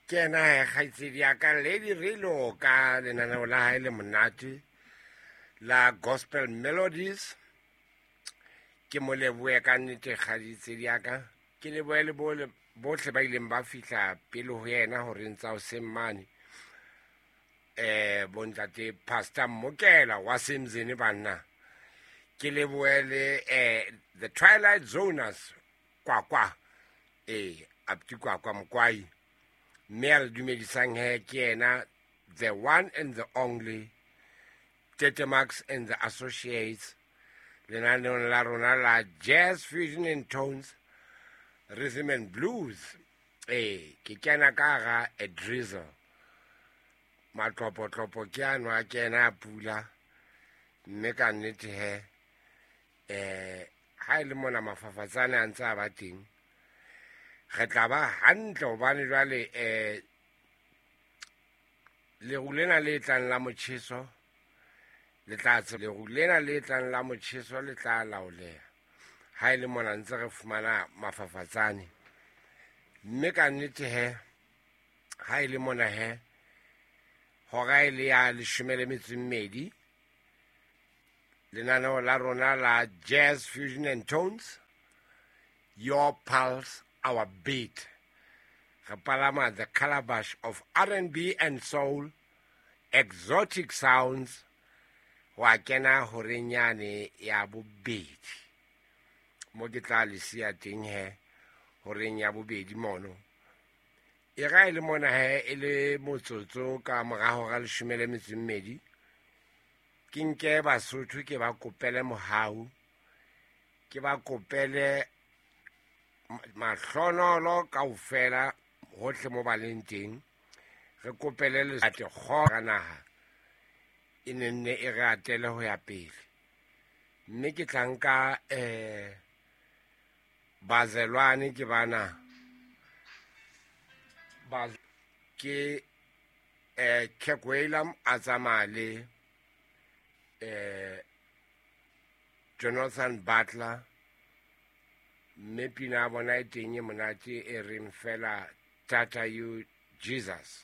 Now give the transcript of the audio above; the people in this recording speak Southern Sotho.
Ke ena he kgaitsedi ya ka Lady Relo ka lenaneo la hae le monate la Gospel Melodies. Ke mo lebohe ka nnete kgaitsedi ya ka. Ke lebohe le bohle ba ileng ba fihla pele ho yena horeng tsa hoseng mane. Bontate Pastor Mokela wa Semzene banna. Ke lebohe le The Twilight Zoners Kwakwa. Apti Kwakwa Mokwai. Mme a re dumedisang he ke yena the one and the only Tete Max and the Associates lenaneong la rona la Jazz Fusion and Tones Rhythm and Blues. Ke kena ka hara a drizzle. Matlopotlopo ke ano a kena a pula, mme ka nnete he ha e le mona mafafatsane a ntse a ba teng, re tla ba hantle hobane jwale leru lena le tlang la motjheso le tla leru lena le tlang la motjheso le tla laoleha ha e le mona ntse re fumana mafafatsane. Mme ka nnete he ha e le mona he hora e le ya 12 lenaneo la rona la Jazz Fusion and Tones, Your Pulse, Our Beat. Re palama the calabash of R&B and soul, exotic sounds, ho a kena horeng yane ya bobedi. Mo ke tla le siya teng he, horeng ya bobedi mono. E ra e le mona he, e le motsotso ka mora hora 12, ke nke Basotho ke ba kopele mohau, ke ba kopele mahlonolo kaofela hohle mo ba leng teng. Re kopele letsatsi kgora naha e ne nne e re atele ho ya pele. Mme ke tla nka bazelwane ke bana ba ke Kirk Whalum a tsamaya le Jonathan Butler, mme pina ya bona e teng e monate e reng fela Tata You Jesus.